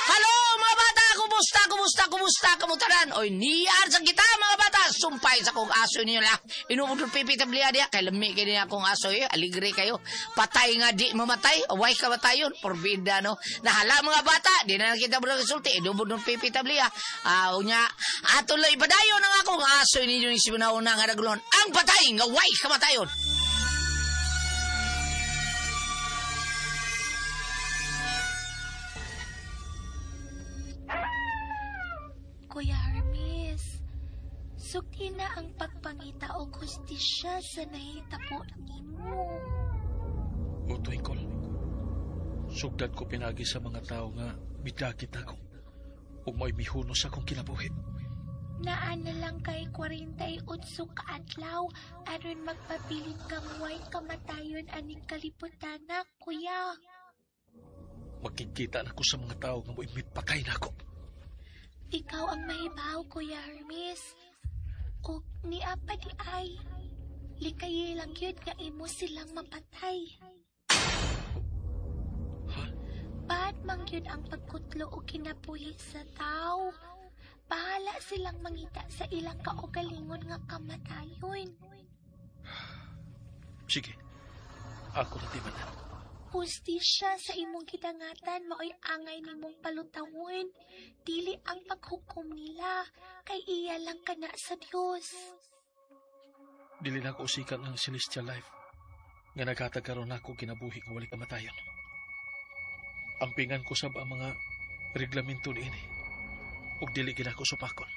Hello mga bata, kumusta, kumusta, kumusta, kamutaran? Oy, niyar sa kita mga bata, sumpay sa kong aso ninyo la. Inuudol pipi tabliya diya, kay lami kay niya akong aso eh, aligre kayo. Patay nga di mamatay, away ka matayon, porbida no. Nahala mga bata, di na kita mo resulti, inuudol pipi tabliya. Unya, ato lang ipadayon ang akong aso ninyo ni Sibunauna nga nagulon. Ang patay nga way kamatayon. Kuya Hermes, sukti na ang pagpangita og hustisya sa nahitabo nimo. O Twinkle, sugdad ko pinagi sa mga tao nga midagit ako ug may mihunos akong kinabuhi. Naa na lang kay 48 kaadlaw aron magpabilin kang way kamatayon aning kaliputana, kuya. Magkikita na ko sa mga tao nga mo'y mipatay na ako. Ikaw ang mahibaw, Kuya Hermes. O niapa di ay, likayi lang yun nga imo silang mapatay. Ha? Ba't mang yun ang pagkutlo o kinabuhi sa tao? Bahala silang mangita sa ilang kaugalingon nga kamatayon. Sige, ako na timanan. Hustisya sa imong gidangatan maoy angay nimong palutawon. Dili ang paghukom nila, kay iya lang kana sa Dios. Dili na ako usikan ang celestial life nga naghatag karon nako kinabuhi nga walay kamatayon. Ampingan ko sab ang mga reglamento niini ug dili gid ako supakon.